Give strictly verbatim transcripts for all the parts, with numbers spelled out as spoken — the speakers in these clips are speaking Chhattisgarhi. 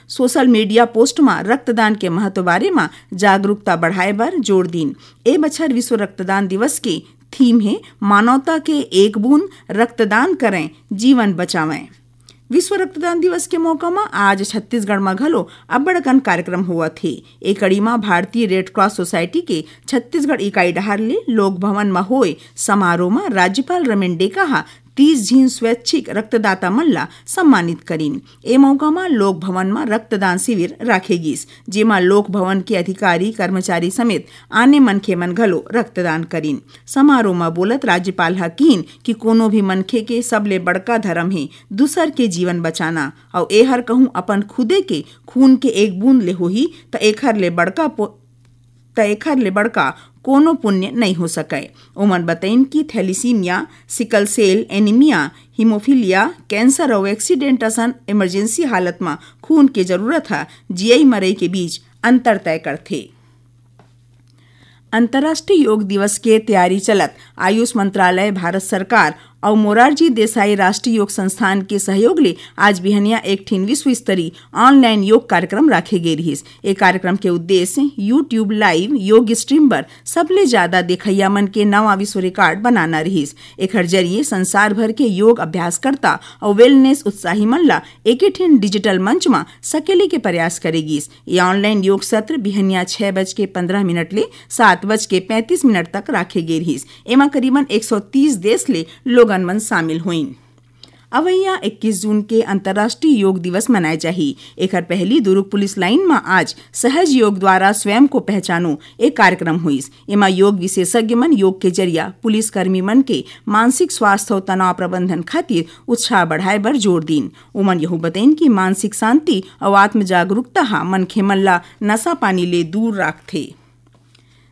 सोशल मीडिया पोस्ट म रक्तदान के महत्व बारे म जागरूकता बढ़ाए बर जोर दीन। ए बछर विश्व रक्तदान दिवस के थीम हे मानवता के एक बूंद रक्तदान करें, जीवन बचावें। विश्व रक्तदान दिवस के मौका म आज छत्तीसगढ़ म घलो अब्बड़ अकन कार्यक्रम होवत हे। ए कड़ी म भारतीय रेड क्रॉस सोसाइटी के छत्तीसगढ़ इकाई डहार ले लोक भवन म होए समारोह म राज्यपाल रमेन डेका ह तीस झिन स्वैच्छिक रक्तदाता मन ला सम्मानित करिन। ए मौका म लोक भवन म रक्तदान शिविर राखे गिस, जेमा लोक भवन के अधिकारी, कर्मचारी समेत आने मनखे मन घलो रक्तदान करिन। समारोह म बोलत राज्यपाल ह किहिन कि कोनो भी मनखे के सबले बड़का धरम हे दूसर के जीवन बचाना, अउ एहर कहूं अपन खुदे के खून के एक बूंद ले होही, त एखर ले बड़का पो-, त एखर ले बड़का कोनो पुण्य नइ हो सकय। ओमन बतइन कि thalassaemia, sickle cell anaemia, haemophilia, cancer अउ एक्सीडेंट असन इमरजेंसी हालत म खून के जरूरत ह जियई मरई के बीच अंतर तय करथे। अंतर्राष्ट्रीय योग दिवस के तैयारी चलत आयुष मंत्रालय, भारत सरकार अउ मोरारजी देसाई राष्ट्रीय योग संस्थान के सहयोग ले आज बिहनिया एक ठिन विश्व स्तरीय ऑनलाइन योग कार्यक्रम राखे गे रिहिस। ए कार्यक्रम के उद्देश्य YouTube लाइव योग स्ट्रीम बर सबले ज्यादा देखइया मन के नवा विश्व रिकॉर्ड बनाना रिहिस। एखर जरिए संसार भर के योग अभ्यासकर्ता अउ वेलनेस उत्साही मन ला एके ठिन डिजिटल मंच म सकेले के प्रयास करे गिस। ये ऑनलाइन योग सत्र बिहनिया छह बज के पंद्रह मिनट ले सात बज के पैंतीस मिनट तक राखे गे रिहिस। एमा करीबन एक सौ तीस देश ले लोगन मन शामिल होइन। अवइया इक्कीस जून के अंतर्राष्ट्रीय योग दिवस मनाए जाही। एखर पहली दुर्ग पुलिस लाइन म आज सहज योग द्वारा स्वयं को पहचानो एक कार्यक्रम होइस। एमा योग विशेषज्ञ मन योग के जरिया पुलिसकर्मी मन के मानसिक स्वास्थ्य अउ तनाव प्रबंधन खातिर उत्साह बढ़ाए बर जोर दीन। उमन यहू बतइन कि मानसिक शांति अउ आत्म जागरूकता ह मनखे मन ला नशा पानी ले दूर राखथे।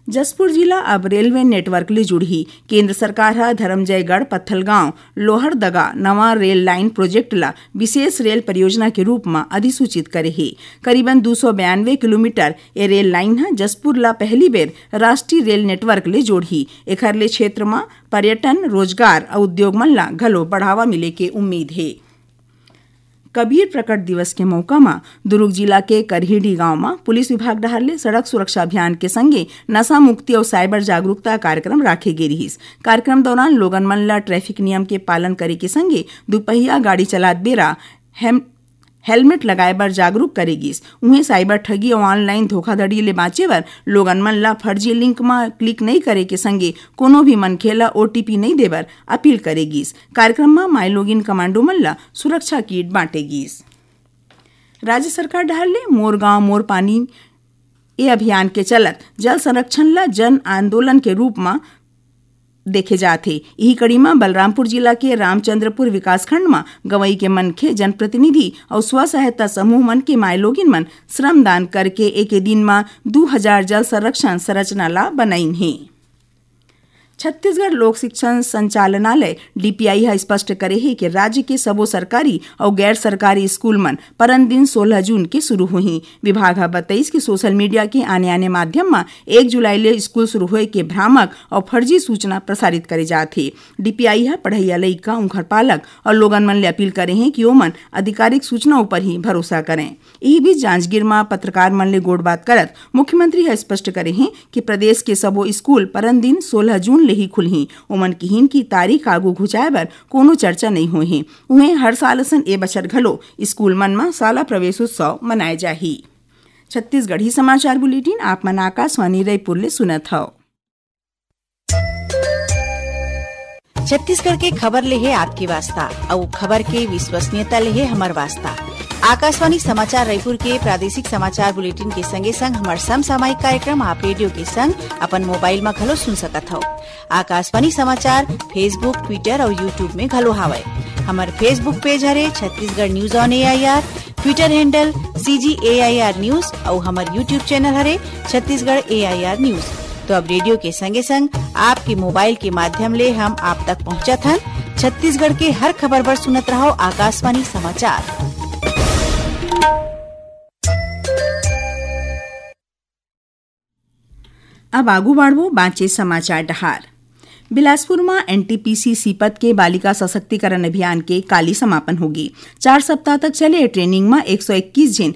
जशपुर जिला अब रेलवे नेटवर्क ले जुड़ही। केंद्र सरकार ह धरमजयगढ़, पत्थलगांव, लोहरदगा नवा रेल लाइन प्रोजेक्ट ला विशेष रेल परियोजना के रूप म अधिसूचित करे हे। करीबन दू सौ बयानवे किलोमीटर ए रेल लाइन ह जशपुर ला पहली बेर राष्ट्रीय रेल नेटवर्क ले जोड़ही। एखर ले क्षेत्र म पर्यटन, रोजगार अउ उद्योग मन ला घलो बढ़ावा मिले के उम्मीद हे। कबीर प्रकट दिवस के मौका म दुर्ग जिला के करहीडी गांव म पुलिस विभाग डहार ले सड़क सुरक्षा अभियान के संगे नशा मुक्ति अउ साइबर जागरूकता कार्यक्रम राखे गे रिहिस। कार्यक्रम दौरान लोगन मन ल ट्रैफिक नियम के पालन करे के संगे दुपहिया गाड़ी चलात बेरा हेम-, हेलमेट लगाए बर जागरूक करे गिस। उहें साइबर ठगी अउ ऑनलाइन धोखाधड़ी ले बांचे बर लोगन मन ल फर्जी लिंक म क्लिक नइ करे के संगे कोनो भी मनखे ल ओटीपी नइ देबर अपील करे गिस। कार्यक्रम म माईलोगिन कमांडो मन ल सुरक्षा किट बांटे गिस। राज्य सरकार डहार ले मोर गांव मोर पानी ए अभियान के चलत जल संरक्षण ल जन आंदोलन के रूप म देखे जात हे। इही कड़ी म बलरामपुर जिला के रामचंद्रपुर विकासखंड म गंवई के मनखे, जनप्रतिनिधि अउ स्व सहायता समूह मन के माईलोगिन मन श्रमदान करके एके दिन म दू हजार जल संरक्षण संरचना ला बनइन हे। छत्तीसगढ़ लोक शिक्षण संचालनालय, डीपीआई, ह स्पष्ट करे हे कि राज्य के सबो सरकारी अउ गैर सरकारी स्कूल मन परन दिन सोलह जून के शुरू होही। विभाग ह बतइस कि सोशल मीडिया के आने-आने माध्यम म एक जुलाई ले स्कूल शुरू होए के भ्रामक अउ फर्जी सूचना प्रसारित करे जात हे। डीपीआई ह पढ़इया लइका, उंखर पालक अउ लोगन मन ले अपील करे हे कि ओमन आधिकारिक सूचना उपर ही भरोसा करें। इही बीच जांजगीर म पत्रकार मन ले गोठबात करत मुख्यमंत्री ह स्पष्ट करे हे कि प्रदेश के सबो स्कूल परन दिन सोलह जून ले ही खुलही। ओमन किहिन कि तारीख आगू घुंचाए बर कोनो चर्चा नइ होए हे। उहें, हर साल असन ए बछर घलो स्कूल मन म शाला प्रवेश उत्सव मनाए जाही। छत्तीसगढ़ी समाचार बुलेटिन आप मन आकाशवाणी रायपुर ले सुनत हव। छत्तीसगढ़ के खबर ले हे आपके वास्ता, अउ खबर के विश्वसनीयता ले हे हमर वास्ता। आकाशवाणी समाचार रायपुर के प्रादेशिक समाचार बुलेटिन के संगे संग हमर समसामयिक कार्यक्रम आप रेडियो के संग अपन मोबाइल म घलो सुन सकत हव। आकाशवाणी समाचार Facebook, Twitter अउ YouTube में घलो हावय। हमर Facebook पेज हरे Chhattisgarh news on AIR, Twitter handle CG AIR news अउ हमर YouTube चैनल हरे छत्तीसगढ़ एआईआर न्यूज। तो अब रेडियो के संगे संग आपके मोबाइल के माध्यम ले हम आप तक पहुंचत हन छत्तीसगढ़ के हर खबर बर सुनत रहव आकाशवाणी समाचार। अब आगू बाढ़बो बांचे समाचार डहार। बिलासपुर म एनटीपीसी सीपत के बालिका सशक्तिकरण अभियान के काली समापन होगी। चार सप्ताह तक चले ए ट्रेनिंग म एक सौ इक्कीस झिन